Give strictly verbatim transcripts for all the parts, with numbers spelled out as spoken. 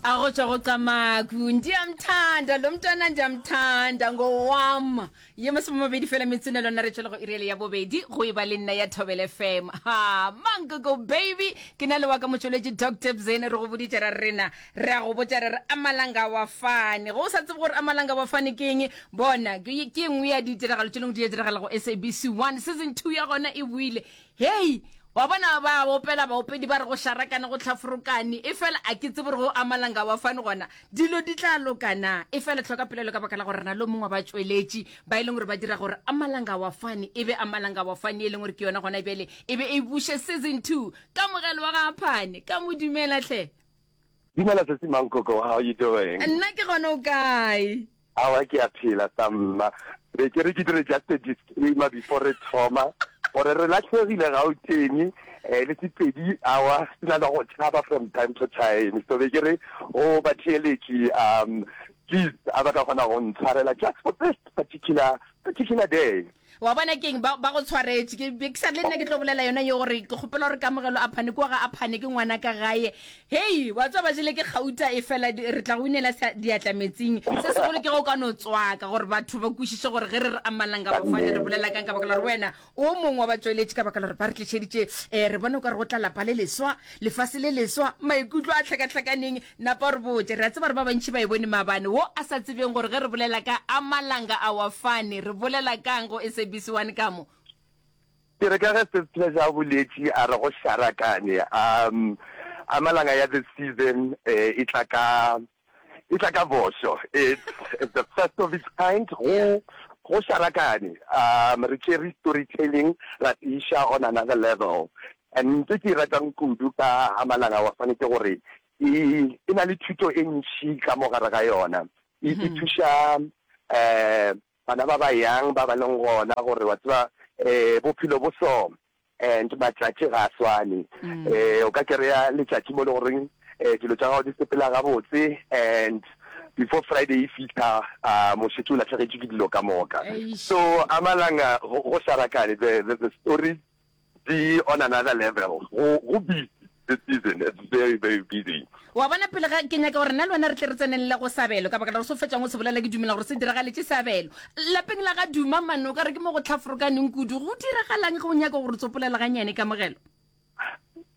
A go tšwa go Camaku. Ndiyamthanda lo mntwana, ndiyamthanda ngowam. Ye masomemabedi fela metsone lona re tšwele go iriele ya bobedi go e ba le nna ya Thobela F M. Ha Mankoko baby, ke na le wa ka motšweletši Doctor Bzene. Re go boditše ra rena, re a go botša re re amalanga wa fane. Go o sa tsebe gore amalanga wa fane ke eng, bona ke ke nngwe ya ditiragalo tše lengwe di diragala go S A B C one, season two ya gona e buile. Hei, wa bona ba opela baopedi ba re go šarakane, go tlhaforokane, e fela a ke tsebe gore go amalanga wa fane gona dilo di tla lokana. E fela tlhoka pelelo ka baka la gore re na le o mongwe wa batšweletši ba e leng gore ba dira gore amalanga wa fane e be amalanga wa fane, e leng gore ke yona gona bjale e be e buše season two. Kamogelo wa ga Phane, ka mo dumela tlhe. Dumela sesi Mankoko, how are you doing? Nna ke gona, o kae? Awa, ke a phela sa mma. Be ke re ke dire just a disclaimer before re thoma gore re latlhegile Gauteng, eh le Sepedi awa se na le go tšhaba from time to time. So be ke re go batheeletši, um please, a ba ka kgona go ntshwarela just for this particular particular day. Wa bona keng, ba ba go tshwaretše. Ke be ke sa le nna ke tlo bolela yona ye gore ke kgopela gore Kamogelo a Phane kua ga a Phane ke ngwana ka gae. Hei, wa tswa ba jele ke gauta, e fela re tla go inela diatla metsing. Se segolo ke go ka no tswaka gore batho ba kwešiše gore ge re re amalanga bafane re bolela kang, ka baka la gore wena o mongwe wa batsweletši, ka baka la gore ba re tlišeditše um re bone o ka re go tla lapa le leswa, lefase le leswa, maikutlo a tlhakatlhakaneng. Napa re botse, re a tseba gore ba bantši ba e bone maabane, wo a sa tsebeng gore ge re bolela ka amalanga a wa fane re bolela kang go S A B C one ka mo. Ke re ka ge se Pleasure a boletše a re go šarakane, um amalanga ya this season eh, e tla ka e tla ka bošo. it's, it's the first of its kind. go go šarakane. um re tšere storytelling ra se iša on another level, and ntho ke e ratang kudu ka amalanga wa fane ke gore e e na le thuto e ntšhi ka mo gare ga yona. E e thuša um bana ba ba yang ba ba leng gona gore wa tseba um bophelo bo so and matšatši ga a swane. um o ka kry-a letšatši mo le goreng um dilo tša gago di sepela gabotse, and before Friday e fitlha, um mošetše o latlhegetšwe ke dilo ka moka. So amalanga go go šarakane, the, the, the stories di on another level. go go busy this season, it's very, very busy. Wa bona, pele ga ke nyaka gore nna le wena re tle re tsenelele go Sabelo, ka baka la gore se o fetšang o se bolela ke dumela gore se diragaletše Sabelo lapeng la ga Duma mane, o ka re ke mo go tlhaforokaneng kudu. Go diragalang ge o nyaka gore tsopolela ganyane, Kamogelo?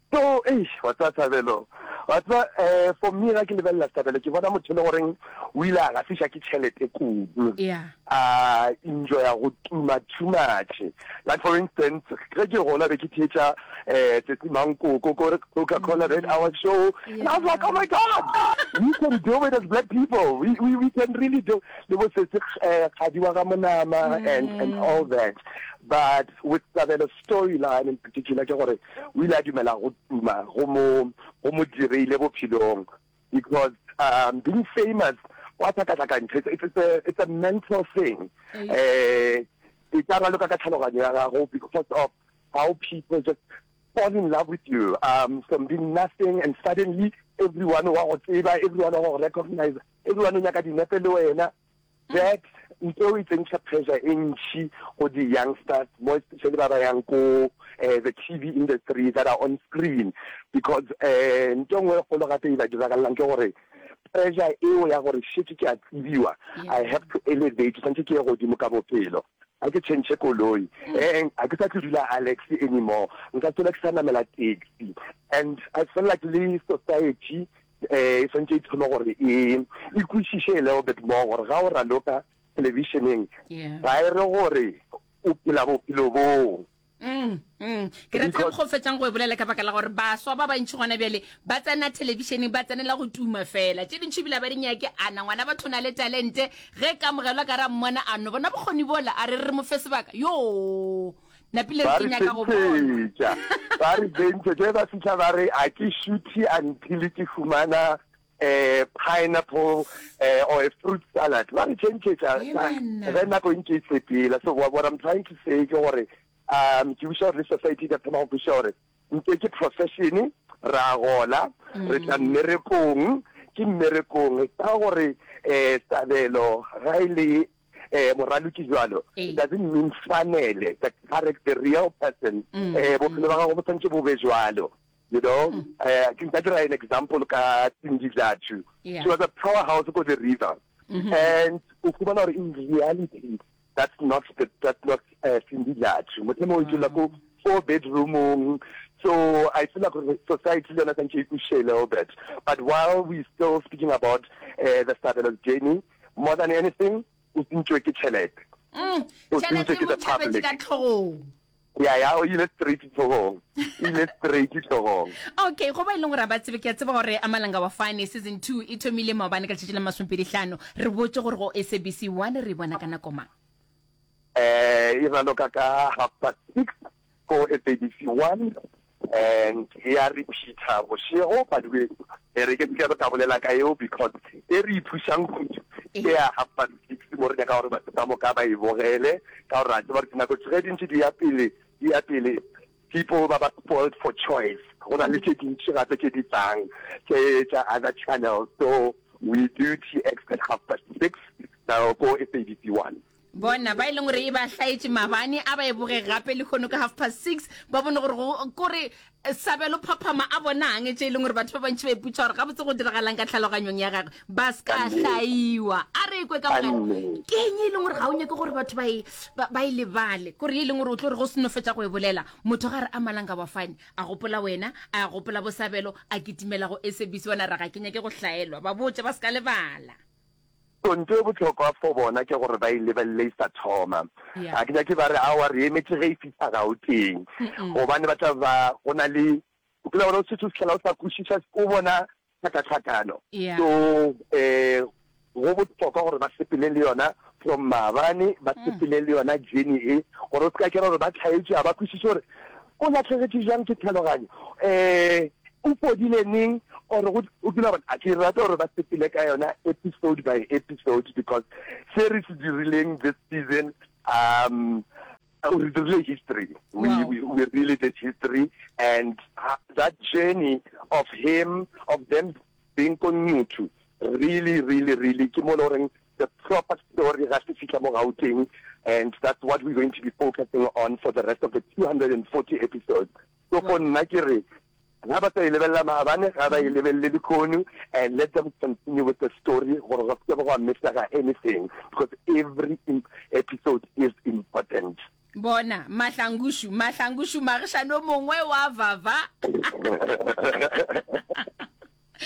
So eish, wa tseba Sabelo, wa tseba, um for me ga ke lebelela Sabelo, ke bona motho e le goreng o ile a gafiša ke tšhelete kudu, yeah a enjoya go tuma too much. Like for instance, ge ke gola be ke theetša um Tsatsi Mankoko ko Coca-Cola Red Hour show, and I was like, "Oh my God, we can do it as black people. we, we, we can really do," le bo sesi um Kgadi wa ga Monama and, and all that. But with Sabelo storyline in particular, ke gore o ile a dumela go tuma go mo go mo direile bophelong, because um being famous wa tlhakatlhakantšha. it's, it's, it's, a, it's a mental thing. eh e ka raloka ka tlhaloganyo ya gago because of how people just fall in love with you um from being nothing, and suddenly everyone wa go tseba, everyone wa go recognize, everyone o nyaka dinepe le wena. That ntho e tsentšha pressure e ntšhi go di-youngsters, more especially ba ba yang ko uh, the T V industry that are on screen, because um ntho e nngwe e kgolo gape e ba diragalelang ke gore pressure eo ya gore šetse ke a tsebiwa, I have to elevate, tshwanetse ke ye godimo ka bophelo, ga ke change koloi, eh ga ke sa tlo dula Alex anymore, nka tswela ke sa namela taxi. And I feel like le society eh e swantse e thome gore e e kwešiše a little bit more gore ga o raloka televisioneng ga e re gore o phela bophelo boo. Mm, mm. Ke rata go fetsang go e bolela, ka baka la gore baswa ba bantši gona bjale ba tsena thelebišeneng ba tsenela go tuma fela, tše dintši ebile ba di nyake. Ana ngwana batho na le talente, ge kamogelwa ka ra mmona a no bona bokgoni bola, a re re mo fe sebaka yo napile ba re re ke nyaka go bona. Tšhentšhetša, ba re tšhentšhetša ge ba fitlha ba re a ke shoothi until ke fumana um pineapple uh, or a fruit salad. Ba re tšhentšhetša Ee, banna. ge nako e ntše e sepela. So what, what I'm trying to say ke gore um ke wiša gore le society e ka thoma go kwešiša gore ntse ke profession, ra gola, re tla mmerekong, ke mmerekong ka gore um Sabelo ga e le eh moraloki jwalo, Ee. it doesn't mean tshwanele the character, the real person, eh bophelo ba gago bo tshwanetse bo be jwalo. You know, mm. uh, ke nka dira an example ka Cindy Dlathu. Yeah. She was a powerhouse ko the river. Mm -hmm. And o fumana gore in reality that's not the, that's not uh, Cindy Dlathu. Motlhomongwe o dula ko four bedroomong. So I feel like society le yona santse e kwešiše a little bit. But while we still speaking about uh, the Sabelo journey, more than anything, o sentšwe ke tšhelete. Mm, O tšhelete sentšwe ke mo the tšhabetše public. ka tlhogong. Ya, ya, o ile straight tlhogong. O ile straight tlhogong. Okay, go ba e leng gore ba tsebe, ke a tseba gore Amalanga wa Fane season two e thomile maobane ka letšatši la masomepedi hlano. Re botše gore go S A B C one re e bona ka nako mang? Eh, e raloka ka half past six ko S A B C one and e ya repeater bošego, but we, e re ke se ke ka bolela ka eo because e re iphušang kudu ke ya half past six mo re nyaka gore batho ka moka ba e bogele, ka gore ra tseba gore dinako ge di ntše di ya pele, di ya pele, people ba ba spoiled for choice. Go na le tše dintši gape tše di tlang tše tša other channels, so we do T X at half past six now ko S A B C one. Bona ba e leng gore e ba hlaetše maabane, a ba e boge gape lehono ka half past six, ba bone gore go kore Sabelo phaphama a bonang tše e leng gore batho ba bantši ba ipotša gore gabotse go diragalang ka tlhaloganyong ya gagwe, ba se ka hlaiwa. A re kwe ka mogare, ke eng e leng gore ga o nyake gore batho ba e, ba, ba e lebale, kore ye e leng gore o tlo re go seno fetša go e bolela, motho ga re a Malanga wa Fane, a gopola wena, a gopola bo Sabelo, a kitimela go S A B C one, a re ga ke nyake go hlaelwa, ba botše ba se ka lebala. So ntho e bohlokwa for bona ke gore ba e lebelele e sa thoma. Yeah. Ga ke nyake ba re aowa re emetše ge e fihla Gauteng. Gobane ba tla ba go na le, o kile wa bona o šetše o fihlela o sa kwešiša, o bona tlhakatlhakano. Yeah. So eh go bohlokwa gore ba sepele le yona from maabane, ba sepele le yona journey e, gore o se ka kera gore ba tlhaetšwe, ga ba kwešiše gore o lahlegetšwe bjang ke tlhaloganyo, eh o fodile neng, or go, o kile wa bona, a ke rata gore ba sepele ka yona episode by episode, because se re se dirileng this season, um, re dirile history. We, Wow. we, we really did history, and that journey of him, of them being ko Nquthu, really, really, really, ke mo le goreng the proper story ga se fihla mo Gauteng, and that's what we're going to be focusing on for the rest of the two hundred and forty episodes. So for nna ke re, ga ba sa e lebelela maabane, ga ba e lebelele lehono, and let them continue with the story gore go se ke gwa missega anything, because every episode is important. Bona, Mahlangušu, Mahlangušu, magišane o mongwe wa vava.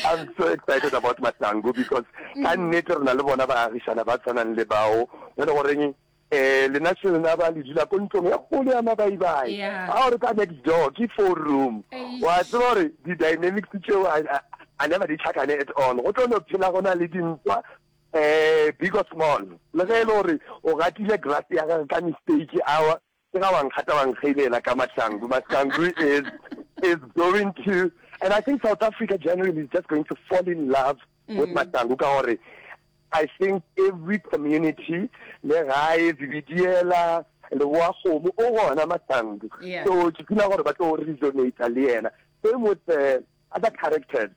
I'm so excited about Mahlangu because ka nnete re na le bona baagišana ba tshwanang le bao, ba le goreng eh lena se lena ba le dula ko ntlong ya kgolo ya mabaibai. Yeah. Ha o re ka next door ke four room. Eish. Wa tseba gore di-dynamics tšeo a, a, a never di tlhakane at all. Go tlo no phela go na le dintwa, eh, big or small. Le ge e le gore o gatile grass ya gagwe ka mistake, awa, ke ga wa nkgata wa nkgeilela ka Mahlangu. Mahlangu is, is going to, and I think South Africa generally is just going to fall in love with Mm. Mahlangu ka gore I think every community, le gae, Zebediela, le boa kgomo, o gona Mahlangu. Yeah. So ke feel gore ba tlo resonate le yena. Same with the other characters.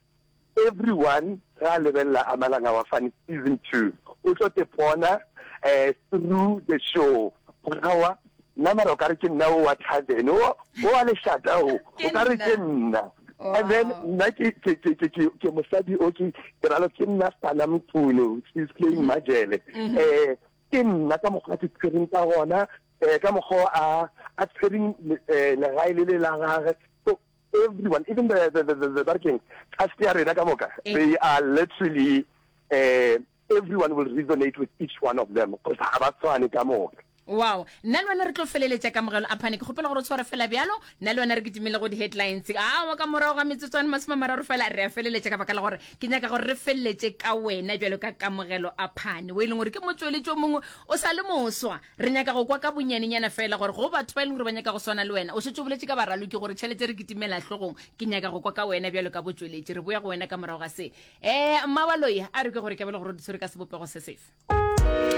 Everyone ga lebelela Amalanga wa Fane season two, o tlo te bona, eh, through the show. Gawa, nna mara o ka re ke nna o wa tavern, o, o wa lešata o, o ka re ke nna. And then Wow. nna ke, ke, ke, ke, ke, ke mosadi o ke, ke ralo ke nna Sana Mkhulu, she's playing Majele. Mm-hmm. Eh, ke nna ka mokgwa a ke tshwereng ka gona, eh, ka mokgwa a, a tshwereng, eh, legae le le la gagwe. So everyone, even the, the, the, the, the barking, cast ya rena ka moka, Eh. they are literally, eh, everyone will resonate with each one of them, because ha ba tshwane ka moka. Wow, nna le wena re tlo feleletša kamogelo a phane. Ke kgopela gore o tshware fela bjalo, nna le wena re kitimele go di-headlines. Aowa, ka morago ga metsotswane masome a mararo fela re a feleletša, ka baka la gore ke nyaka gore re feleletše ka wena bjalo ka kamogelo a phane, o e leng gore ke motsweletši o mongwe o sa le moswa. Re nyaka go kwa ka bonyanenyana fela gore go batho ba e leng gore ba nyaka go swana le wena. O šetše o boletše ka baraloki gore tšhelete re kitimela hlogong. Ke nyaka go kwa ka wena bjalo ka botsweletši. Re boya go wena ka morago ga se. Eh, Mmabaloi, a re ke gore ke bele gore o di tshwere ka sebopego se sefe.